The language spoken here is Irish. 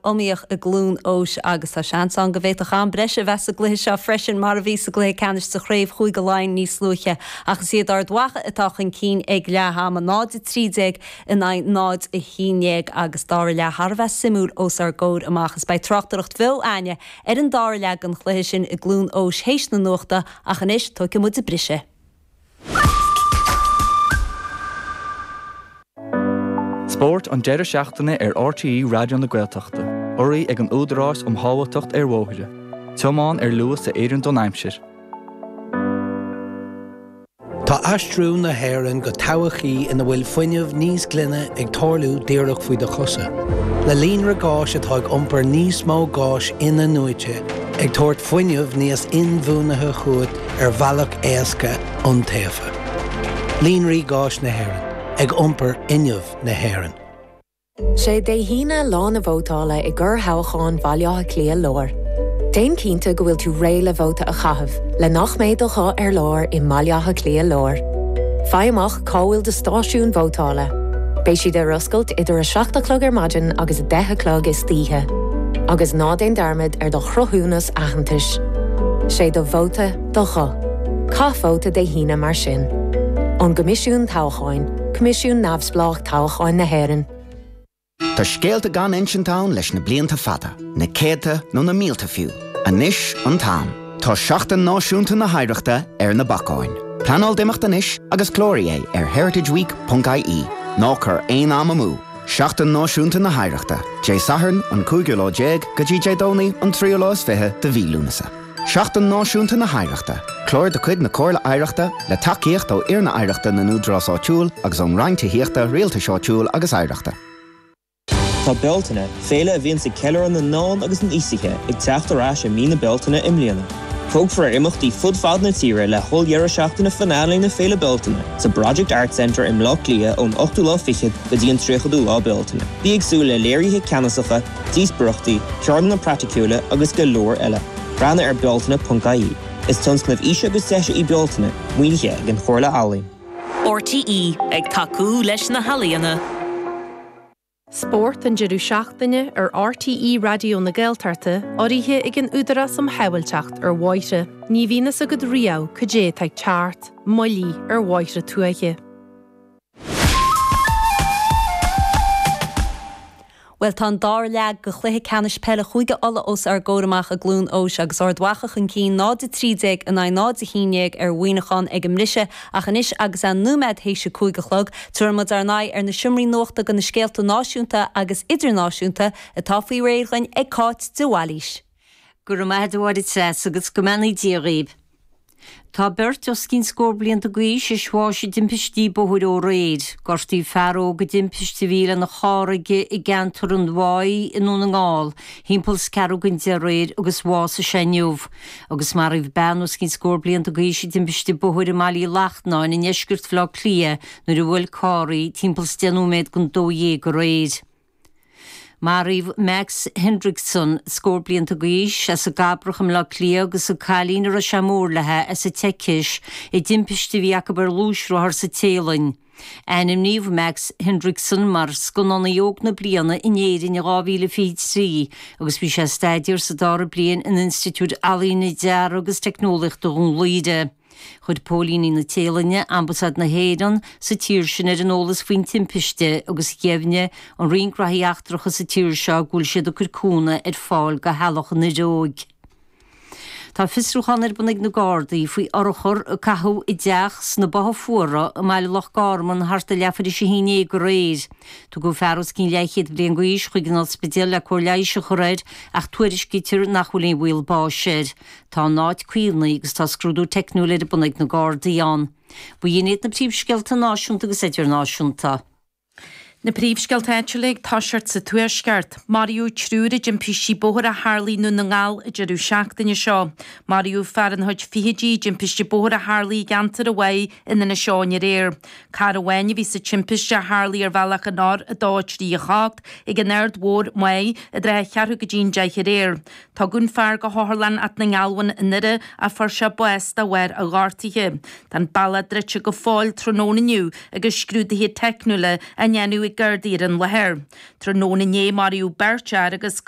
iomaíoch i gCluain Eois agus tá seans ann go bhféadfadh am breise a bheith sa gcluiche seo freisin mar a bhí sa gcluiche ceannais sa chraobh Chúige Laighean níos luaithe. Ach is iad Ard Mhacha atá chun cinn ag leath ama, 0-13 in aghaidh 0-11 agus dara leath thar a bheith suimiúil os ár gcomhair amach. Is beidh tráchtaireacht bheo a'inne ar an dara leath den chluiche sin i gCluain Eois théis na nuachta ach anois tógfaidh muid briseadh. Spórt an deireadh seachtaine ar RTÉ Raidió na Gaeltachta, urraithe ag an Údarás um Shábháilteacht ar Bhóithre. Tiomáin ar luas a oireann don aimsir. Tá aistriú na hÉireann go todhchaí ina bhfuil fuinneamh níos glaine ag tarlú díreach faoi do chosa. Le líonra gáis atá ag iompar níos mó gáis in-athnuaite, ag tabhairt fuinneamh níos inbhuanaithe chugat ar bhealach éasca, iontaofa. Líonraí Gáis na hÉireann, ag iompar fhuinneamh na hÉireann. Sé Dé hAoine lá na vótála i gcorrthoghchán Bhaile Átha Cliath Láir. Déan cinnte go bhfuil tú réidh le vóta a chaitheamh le nach mbeidh do ghuth ar lár i mBaile Átha Cliath Láir. Faigh amach cá bhfuil do stáisiún vótála. Beidh siad ar oscailt idir 7 a chlog ar maidin agus 10 a chlog istoíche. Agus ná déan dearmad ar do chruthúnas aitheantais. Sé do vóta do ghuth. Caith vóta Dé hAoine mar sin. Ón gCoimisiún Toghcháin, Coimisiún Neamhspleách Toghcháin na hÉireann. Tá scéalta gan insint ann leis na blianta fada, na céadta nó na mílte fiú. Anois an t-am. Tá Seachtain Náisiúnta na hOidhreachta ar na bacáin. Pleanáil d'imeacht anois agus cláraigh é ar heritageweek.ie. Ná cuir aon am amú! Seachtain Náisiúnta na hOidhreachta, Dé Sathairn an cúigiú lá déag go dtí Dé Domhnaigh an tríú lá is fiche de mhí Lúnasa. Seachtain Náisiúnta na hOidhreachta, clár de chuid na Comhairle Oidhreachta le tacaíocht ó Fhoirne Oidhreachta na nÚdarás Áitiúil agus ón Roinn Tithíochta, Rialtais Áitiúil agus Oidhreachta. Tá Bealtaine, féile a bhíonns ag ceiliúradh na ndán agus na n-aosaithe, ag teacht ar ais i mí na Bealtaine i mbliana. Tógfar ar imeachtaí fud fad na tíre le holl-dheireadh seachtaine finale na Féile Bealtaine sa Project Arts Centre i mBleá Cliath ón ochtú lá fichead go dtí an tríochadú lá Bealtaine. Bí ag súil le léirithe ceannasacha, díospóireachtaí, ceardlanna praiticiúla agus go leor eile. Breathnaigh ar bealtaine.ie. Is tionscnamh Fhís agus Deise í Bealtaine, maoinithe ag an Chomhairle Ealaíon. RTÉ, ag tacú leis na healaíona. Spórt an deireadh seachtaine ar RTÉ Raidió na Gaeltachta, urraithe ag an Údarás um Shábháilteacht ar Bhóithre. Ní bhíonn fhios agat riamh cad é atá ag teacht, buillí ar bhóithre tuaithe. Bhuel, tá an dara leath de chluiche ceannais peile Chúige Uladh os ár gcomhair amach i gCluain Eois agus Ard Mhacha chun cinn 0-13 in aghaidh 0-11 ar Mhuineachán ag an mbriseadh ach anois agus é nóiméad théis a 5 a chlog, tabharfaidh muid ár n-aghaidh ar na seomraí nuachta do na scéalta náisiúnta agus idirnáisiúnta atá faoi réir dhuinn ag Cáit de Bhailís. Go raibh maith agat a Mháire Treasa agus go mbeannaí Dia dhaoibh. Tá beirt os cionn scór blianta d'aois théis bháis i dtimpistí bóthair ó aréir. Gortaíodh fear óg i dtimpiste a bhí lena charr aige i gceantar an Mhaigh i nDún na nGall thimpeall is ceathrú don deich aréir agus bhásaigh sé inniu. Agus maraíodh bean os cionn scór blianta d'aois i dtimpiste bóthair i mBaile Uí Lachtnáin i ndeisceart Bhaile Átha Cliath nuair a bhuail carr í timpeall is deich nóiméad don 12 aréir. Maraíodh Max Hendrickson, scór blianta d'aois, as an gCabrach i mBleá Cliath agus an cailín a raibh sé mór léi, as an tSeicis, i dtimpiste a bhí acu ar ghluaisrothar sa Téalainn. Ainmníodh Max Hendrickson mar Scannánaí Óg na Bliana in Éirinn in 2023 agus bhí sé ag staidéar sa dara bliain in Institiúid Ealaíne, Dearaidh agus Teicneolaíochta Dhún Laoghaire. Chuir póilíní na Téalainne Ambasáid na hÉireann sa tír sin ar an eolas faoin timpiste agus dheimhnigh an Roinn Gnóthaí Eachtracha sa tír seo go bhfuil siad ag cur cúnamh ar fáil do theaghlach an fhir óig. Tá fiosrúchán ar bun ag na Gardaí faoi urchar a caitheadh i dteach sna Botha Fuara i mbaile Loch Garman thart ar leathuair théis a haon déag aréir. Tugadh fear os cionn leathchéad bliain d'aois chuig an ospidéal le cóir leighis a chur air ach tuairiscítear nach bhfuil aon bhaol báis air. Tá an áit caomhnaithe agus tá scrúdú teicniúil ar bun ag na Gardaí ann. B'in iad na príomhscéalta náisiúnta agus idirnáisiúnta. Na príomhscéalta áitiúla ag toiseacht sa Tuaisceart. Maraíodh triúr i dtimpistí bóthair a tharlaigh i nDún na nGall an deireadh seachtaine seo. Maraíodh fear ina chuid fichidí i dtimpiste bóthair a tharlaigh i gceantar an Mhaigh in Inis Eoghain aréir. Carr amháin a bhí sa timpiste a tharlaigh ar bhealach an R2 3 8 ag an Aird Mhór, Maigh, i dtrátha cheathrú go dtí an deich aréir. Tugadh an fear go hOtharlann Áth na nGealbhan i nDoire ach fuair sé bás de bharr a ghortaithe. Tá an bealach druidte go fóill tráthnóna inniu agus scrúduithe teicniúla á ndéanamh ag Gardaí ar an láthair. Tráthnóna inné maraíodh beirt fhear agus.